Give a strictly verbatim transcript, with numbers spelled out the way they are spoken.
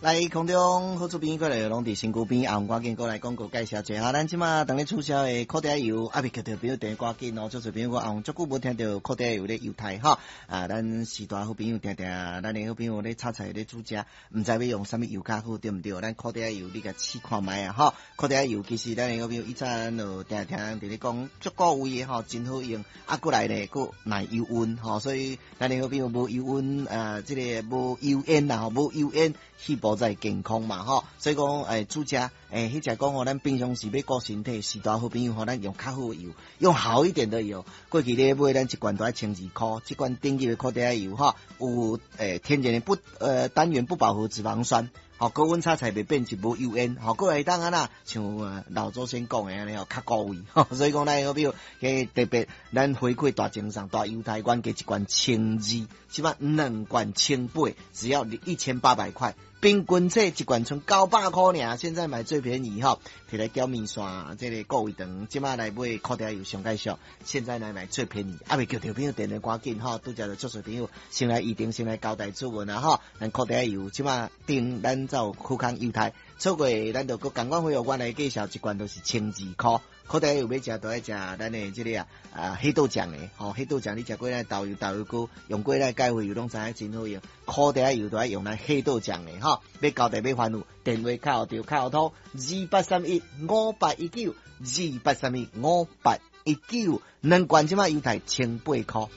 來空中好厝邊過來攏佇身軀邊，啊，趕緊過來廣告介紹一下。咱這馬當咧促銷的苦茶油，啊，未叫著朋友電話趕緊哦，足濟朋友講啊，足久無聽著苦茶油咧猶太吼。啊，咱時大好朋友定定，咱的好朋友咧炒菜咧煮食，毋知欲用啥物油較好，對毋對？咱苦茶油你共試看覓啊，吼！苦茶油其實咱的好朋友以前就定聽佇咧講足夠味的吼，真好用。啊，過來咧，閣耐油溫吼，所以咱的好朋友無油溫啊，這個無油煙啦，吼，無油煙，去保在健康嘛，吼，所以講，欸，煮食，欸，彼隻講吼，咱平常時欲顧身體，序大好朋友吼，咱用較好的油，用好一點的油。過去咧買咱一罐都愛千二箍，這罐頂級的苦茶油吼，有欸天然的不呃單元不飽和脂肪酸，吼，高溫炒菜袂變質，無油煙，吼，過來會當按怎，像老祖先講的按呢吼，較高位，所以講咱好朋友，特別咱回饋大贈送大優待，原價一罐千二，這擺兩罐千八，只要一千八百塊。平均這一罐賰九百箍爾，現在買最便宜吼，提來攪麵線，這個顧胃腸，這擺來買苦茶油上蓋俗，現在來買最便宜，啊未叫著朋友電話趕緊吼，拄才就足濟朋友先來預定，先來交代注文啊吼，咱苦茶油這擺訂咱就好康優待，錯過咱就閣仝款費用，我來介紹一罐都是千二箍。苦茶油欲食都愛食咱的這個啊啊黑豆醬的吼，黑豆醬你食過咱豆油豆油膏，用過咱蓋回油攏知影真好用。苦茶油都愛用咱黑豆醬的吼，欲交代欲煩惱，電話敲著敲通二八三一五八一九，二八三一五八一九，兩罐這擺優待千八箍。